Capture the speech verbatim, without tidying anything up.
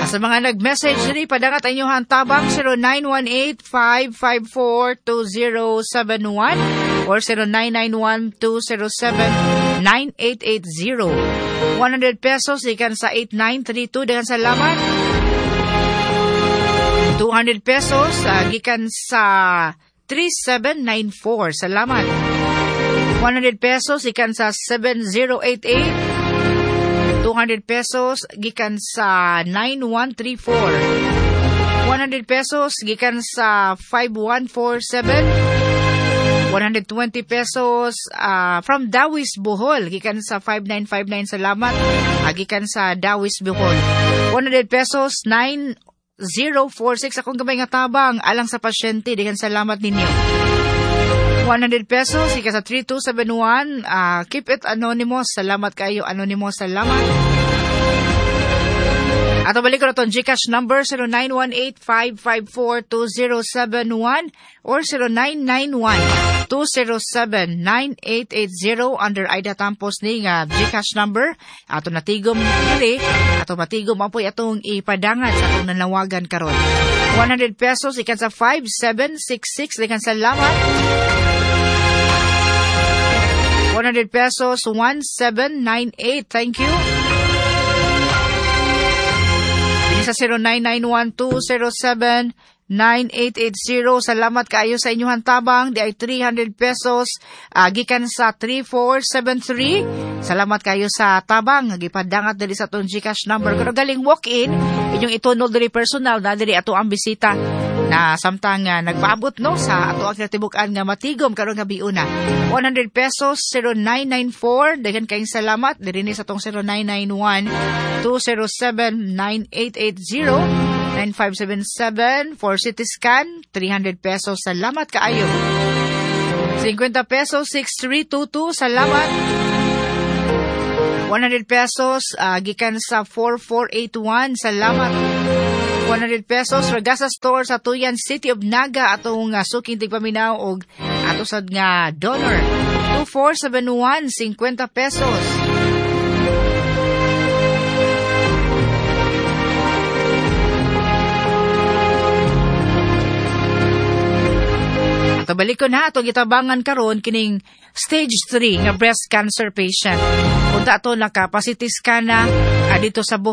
Sa mga nag-message diri, padangat ang inyong tabang zero nine one eight, five five four, two zero seven one or zero nine nine one, two zero seven, nine eight eight zero. one hundred pesos gikan sa eight nine three two, daghang salamat. two hundred pesos uh, gikan sa three seven nine four. Salamat. one hundred pesos gikan sa seven zero eight eight. two hundred pesos gikan sa nine one three four. one hundred pesos gikan sa five one four seven. one hundred twenty pesos uh, from Dawis, Bohol, gikan sa five nine five nine. Salamat uh, gikan sa Dawis, Bohol. one hundred pesos, nine zero four six, akong gamay nga tabang alang sa pasyente, daghang salamat ninyo. one hundred pesos gikan sa three two seven one, uh, keep it anonymous. Salamat kayo, anonymous, salamat. Ato balik ko na itong GCash number zero nine one eight, five five four, two zero seven one or zero nine nine one, two zero seven, nine eight eight zero under Aida Tampos ni nga GCash number. Ato natigom diri, ato matigom apoy atong ipadangat sa atong nanawagan karon. one hundred pesos ikan sa five seven six six, daghang salamat. one hundred pesos, one seven nine eight, thank you. Sa zero nine nine one, two zero seven, nine eight eight zero. Salamat kaayo sa inyong tabang. Di ay three hundred pesos uh, gikan sa three four seven three. Salamat kayo sa tabang. Gipadangat diri sa atong GCash number. Kung galing walk-in, inyong itunol diri personal na diri ato ang bisita na samtang uh, nagpaabot, no, sa ato ang kinatibuk-an nga matigom karong gabiuna. one hundred pesos, zero nine nine four, daghan kayong salamat diri ni sa atong zero nine nine one two zero seven nine eight eight zero. nine five seven seven for C T scan, three hundred pesos. Salamat kaayo. fifty pesos, six three two two. Salamat. one hundred pesos uh, gikan sa four four eight one. Salamat. one hundred pesos, Ragasa Store sa Tuyan, City of Naga, atong uh, suking tigpaminaw og ato sad nga donor. two four seven one, fifty pesos. Ato balik ko na atong gitabangan karon kining stage three nga breast cancer patient. Unta ato naka-C T scan na ah, dito sa